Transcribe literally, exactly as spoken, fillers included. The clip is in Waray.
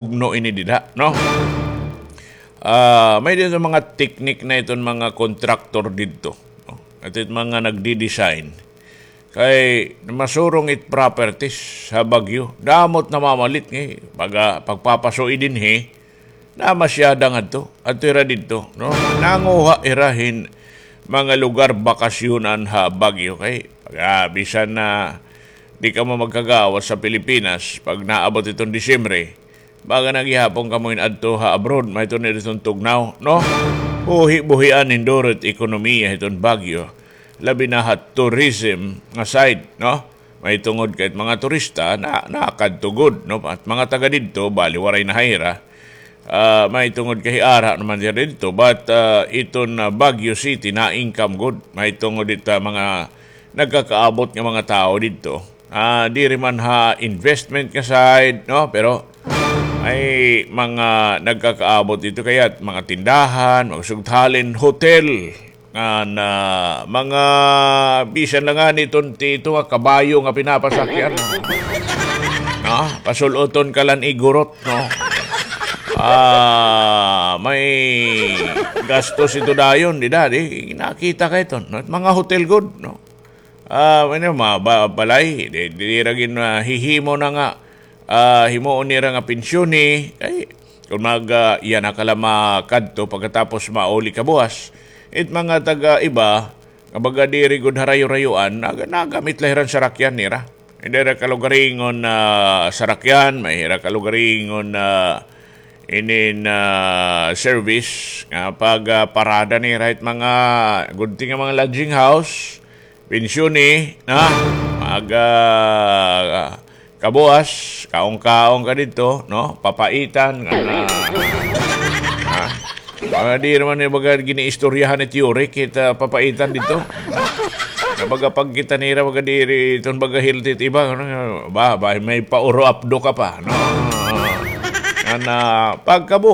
Tugno ini dida, no? Ah, may didto mga teknik na iton mga kontraktor didto, no? At it mga nagdi-design. Kay masurong it properties ha Baguio. Damo it namamalit nga, eh. Pag, ah, pagpapasuy dinhi, namasyada ngadto. Adto hira didto, no? Nanguha hira hin mga lugar bakasyonan ha Baguio. Kay, pag, ah, bisan na di kamo magkagawas sa Pilipinas, pag naabot iton Disyembre, baga na gihapon kamo in adto ha abroad, may tuni didton tugnaw, no? Buhi-buhian hinduro it ekonomiya hiton Baguio, labi na ha tourism nga side, no? May tungod kay mga turista na nakadto gud, no? At mga taga didto, bali waray na ha ira. Ah, may tungod kay ara naman didto, but, ah, iton, ah, Baguio City na-income gud. May tungod it mga nagkakaabot nga mga tawo didto. Ah, diri man ha investment nga side, no? Pero may mga nagkakaabot didto kay mga tindahan, mga sugdhalin, hotel, nga na, mga bisan la ngani iton ti-, ito nga kabayo nga pinapasakyan. No? Pasul-oton ka la hin igurot, no? Ah, may gastos ito dayon, dida, di, nakita ka iton, no? Mga hotel gud, no? Ah, ano, mga ba-, balay, di, di ra gin-, ah, hihimo na nga, ah, himuon nira nga pensyoni, kay, kon mag, ah, iya na ka la makadto pagkatapos mauli ka buwas. It mga taga iba, nga baga diri gud harayo-rayoan, nag-, nagamit la hira hin sarakyan nira. May hira kalugaringon na sarakyan, may hira kalugaringon na inin, ah, service, nga pag, ah, parada nira it mga, gudti nga mga lodging house, pensyoni, na, mag, ah, kabuwas, kaon-kaon ka didto, no? Papaitan, nga na, ha? Mga di naman ni baga giniistoryahan ni Teoric, kita papaitan didto. Nga baga pagkita nira, baga diri, iton baga healthy it iba, ano, ba, ba, may pauro apdo ka pa, no? Nga na, pagkabuwas,